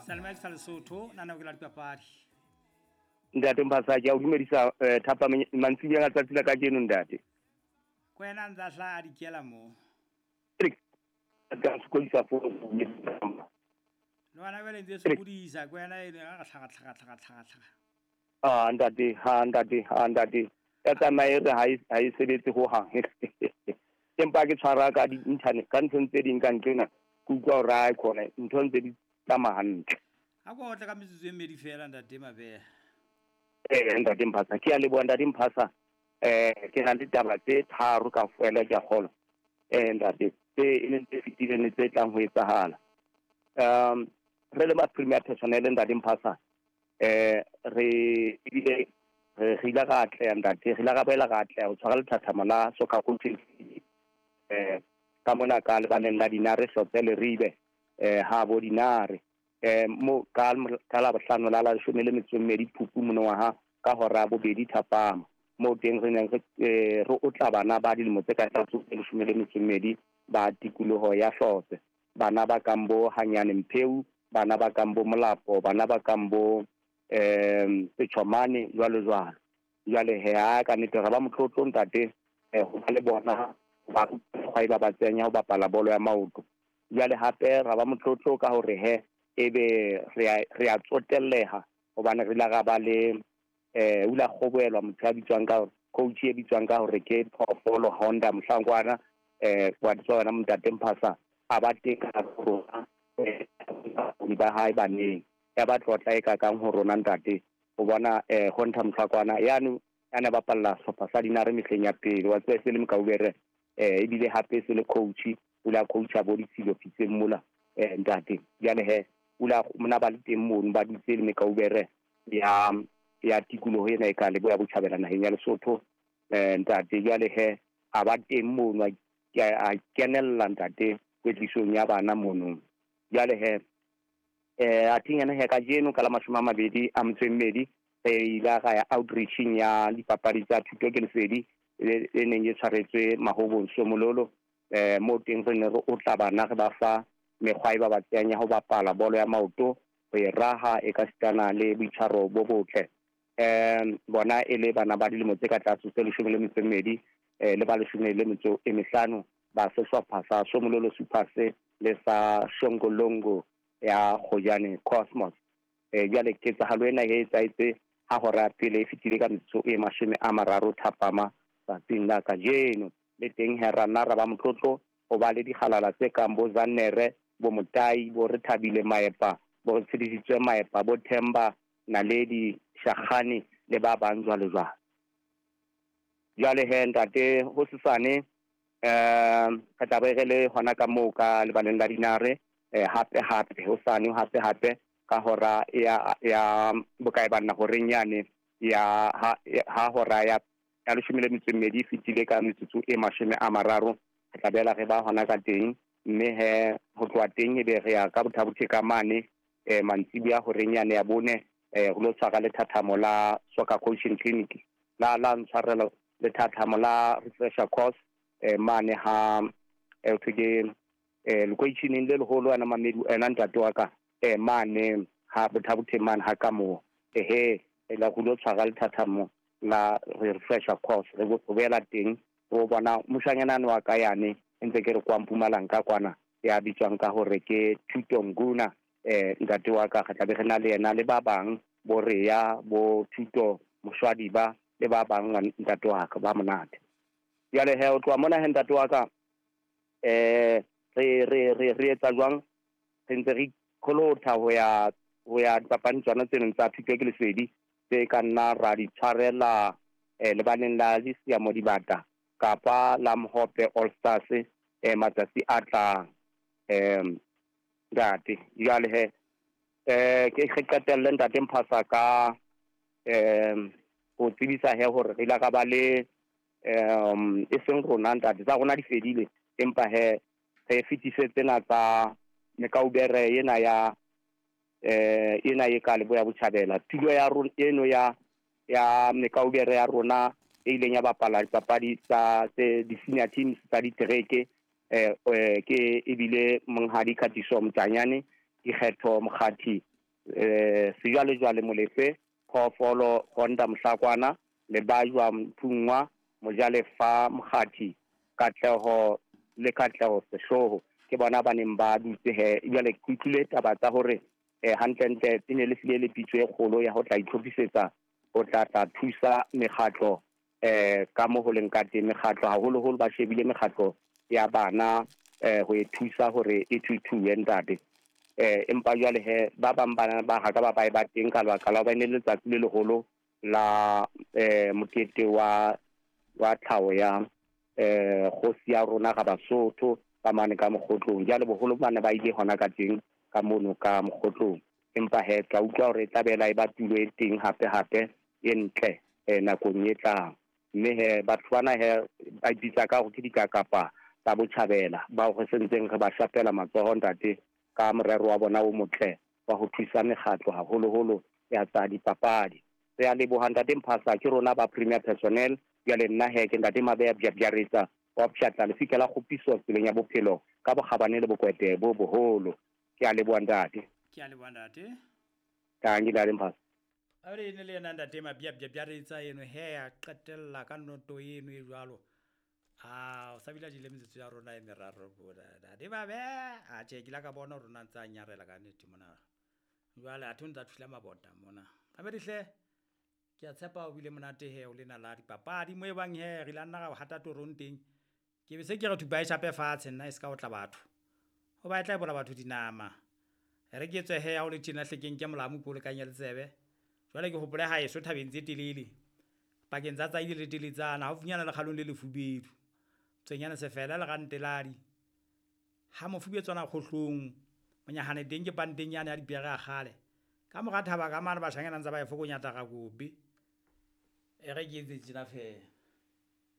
Seyalemoya ke sa Lesotho, lenaneo ke la dipapadi. Ntate Mphasa, ke a o dumedisa thapa mantsiboyeng a tsatsi la kajeno ntate. Ko wena a ntse a hlaha a dikela mo. Ka sokodisa Le wena jwale ntse e sokodisa, ko wena eno a tlhaga tlhaga tlhaga tlhaga tlhaga. Ah ntate, ha ntate, ha ntate. Ya tsamaye re ha e sebetse ho hang. Empa ke tshwara ka di-internet, ka nthong tse ding ka ntlena, ke utlwa hore ae khona ntho ntse di tsamaya hantle. A ko otle ka metsotso e mmedi fela ntate Mabeha. Ntate Mphasa, ke a leboha ntate Mphasa. Ke na le taba tse tharo ka fela ke a kgolwa. Ntate, tse e leng tse fetileng le tse tlang ho etsahala. Re le ba Premier Personnel ntate Mphasa, re ebile re ile ra atleha ntate, re ile ra boela ra atleha ho tshwara lethathamo la soccer coaching ka mona ka lebaleng la Dinare Hlotse Leribe ha bo Dinare mo ka la bohlano la la leshome le metso e mmedi Phupu monongwaha ka hora ya bobedi thapama, moo teng re neng re otla bana ba dilemo tse ka tlase ho tse leshome le metso e mmedi ba tikoloho ya Hlotse, bana ba kang bo Hanyane Mpheu, bana ba kang bo Molapo, bana ba kang bo Setjhomane jwalo jwalo. Jwale he ha ka nnete re ba motlotlo ntate ho ba le bona ba mekgwa e ba ba tsenya ho bapala bolo ya maoto. Jwale hape ra ba motlotlo ka hore he ebe re a tsotelleha hobane re ile ra ba le o ile a kgobohelwa motho ya bitswang ka hore coach e bitswang ka hore ke Phoofolo Honda Mohlankwana wa tswa wena ntate Mphasa a ba teng ka rona ba hae baneng ya ba tlotla e kakang ho rona ntate ho bona Honda Mohlakwana yane a ne bapalla sehlopha sa Dinare mehleng ya pele wa tseba se le Mkaubere ebile hape se le coach o la coacha bo ditshilo Pitseng mola ntate. Jwale he o la mona ba le teng mono ba dutse le Mekaubere ya tikoloho ena e ka leboya botjhabela naheng ya Lesotho ntate. Jwale he a ba teng mono a kenella ntate kwetlisong ya bana mono. Jwale he a theng ena he kajeno ka la 24 re ile ra ya outreaching ya dipapadi tsa thuto ke lesedi e neng e tshwaretswe Mahobong Somololo mo teng re ne re otla bana re ba fa mekgwa e ba ba tseyang ya ho bapala bolo ya maoto, ho e raha e ka sitana le boitshwaro bo botle. Bona e le bana ba dilemo tse ka tlase tse 12 le ba 15 ba sehlopha sa Somololo Supers le sa Shongolongo ya Kgojane Cosmos. Jwale ketsahalo ena e etsahetse ha hora pele e fetile ka metsotso e 30 thapama tsatsing la kajeno. Le teng he ra nna ra ba motlotlo ho ba le dikgalala tse kang bo Zannere, bo Motai, bo Rethabile Maepa, bo re tshedisitswe Maepa, bo Themba, Naledi, Shakgane le ba bang jwalo jwalo. Jwale he ntate ho sesane re tla be re le hona ka moo ka lebaleng la Dinare hape hape hosane hape hape ka hora ya bokae banna horeng yane ya ha hora ya 12 fetile ka metsotso e 30 re tla bela re ba hona ka teng mme he ho tloha teng ebe re ya ka Botha-Bothe ka mane mantsibuya horeng yane ya bone re lo tshwara lethathamo la soccer coaching clinic la ntshwarelo lethathamo la refresher course mane ha thwe ke lekweisheneng le leholo ana Mamedu ena ntate wa ka mane ha Botha-Bothe mane ha ka moo ehe la go lo tshwara lethathamo la refresher course re boela teng ro bona moshanyana wa ka yane ntse ke re kwa Mpumalanga ka kwana ya bitswang ka hore ke Thuto Nguna ntate wa ka re tla be re na le yena le ba bang bo Rea bo Thuto Moshwadi ba le ba bang ntate wa ka ba monate. Jwale he o tloha mona he ntate wa ka re etsa jwang re ntse re kholotha ho ya dipapading tsona tseno tsa thuto ke lesedi tse ka nna ra di tshwarela lebaleng la Disiamo Dibata kapa la Mhope All Stars matsatsi a tlang ntate. Jwale he ke re qetelle ntate Mphasa ka ho tsebisa he hore re ile ra ba le e seng rona ntate tsa rona di fedile empa he re fetise tsena tsa Mekaubere ena ya ena e ka leboya botjhabela tulo ya rona eno ya Mekaubere ya rona e ileng ya bapala dipapadi tsa tse di-senior teams tsa ditereke ke ebile monghadi Khatiso Mtanyane Dikgetho Mokgathi, Sejwalejwale Molefe, Phoofolo Gonda Mohlakwana, Lebajwa Mthungwa, Mojalefa Mokgathi, Katleho le Katleho Sehloho ke bona ba neng ba dutse he. Jwale ke utlwile taba tsa hore hantlentle e ne le hlile le pitso e kgolo ya ho tla itlhophisetsa ho tla tla thusa mekgatlo ka mo ho leng ka teng. Mekgatlo haholoholo ba shebile mekgatlo ya bana ho e thusa hore e thuthuwe ntate. Empa jwale he ba bang bana ba ha ka ba ba eba teng ka lebaka la hobane le letsatsi le leholo la mokete wa tlhaho ya kgosi ya rona ga Basotho ka mane ka Mokgotlong. Jwale boholo bana ba ile hona ka teng ka mono ka Mokgotlong. Empa he tla utlwa hore e tla bela e ba tulo e teng hape hape e ntle nakong e tlang. Mme he batho bana he ba ipitsa ka hore ke dikakapa tsa botjhabela bao re sentseng re ba shapela matsoho ntate ka morero wa bona o motle wa ho thusa mekgatlo haholoholo ya tsa dipapadi. Re a leboha ntate Mphasa, ke rona ba Premier Personnel. Jwale nna he ke ntate Mabeya Bjabjaretsa wa Pshatla, lefika la kgopiso tseleng ya bophelo ka bokgabane le bokwete bo boholo. Ke a leboha ntate. Ke a leboha ntate. Tanki ntate Mphasa. Abele ne le yena ntate Mabia Bjabjaretsa eno he a qetella ka noto eno e jwalo. A o sa bile a jele metsotso ya rona e meraro bona. Ntate Mabeya, a tjhe ke la ka bona rona ntse a nyarela ka nnete mona. Jwale athe o ntsa thula mabota mona. Abele hle ke a tshepa o bile monate he o lena la dipapadi mo e bang he re la nna ra hata torong teng. Ke be se ke re thupa e shape fatshe nna e ska otla batho. Hoba e tla e bola batho dinama. Re ke tswe he ha o le tjena hlekeng ke molamu ko lekanya le tsebe. Jwale ke hopole ha eso thabeng tse telele. Pakeng tsa tsaile le teletsana haufinyana le kgalong le lefubedu. Tswenyana sefela le ranteladi. Ha mofubetswana kgohlong monyahane teng ke panteng yane ya dipere a kgale. Ka mora thaba ka mane bashanyana ntse ba e fokonyata ga kope. E re ke etse tjena feela.